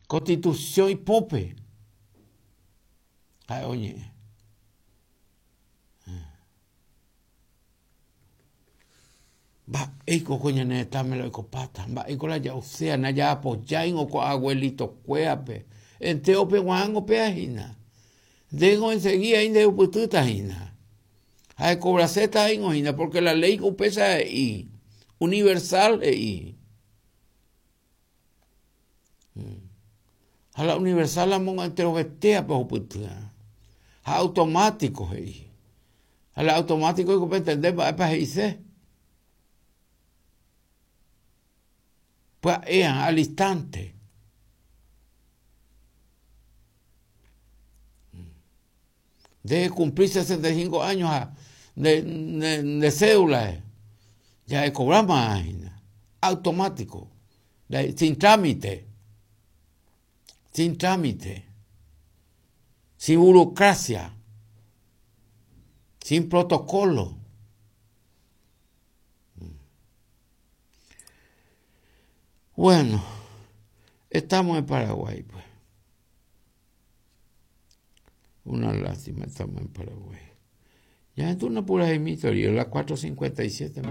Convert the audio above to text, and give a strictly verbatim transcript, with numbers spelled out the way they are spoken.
Constitución ipópe ha'e oñe'ẽ. Mba'éiko ko ñane retãme la oikopáta, mba'éiko la ja'uséa, najaapojáingo ko abuelitokuérape, entérope g̃uarãngo péva hína. Ndéngo enseguida nderupytýta hína. Ha ekobraséta hína porque la ley upéicha he'i, universal he'i. Ha la universal ramo enterovetéape ohupytýva. Ha automático he'i. Ha la automático oiko pentende mba'épa he'ise. Pya'e al instante. Nde cumplir sesenta y cinco años ha nde, nde, nde cédula ya ekobráma hína. Automático. Sin trámite. Sin trámite. Sin burocracia. Sin protocolo. Bueno, estamos en Paraguay, pues. Una lástima, estamos en Paraguay. Ya entró una pura río, las cuatro cincuenta y siete.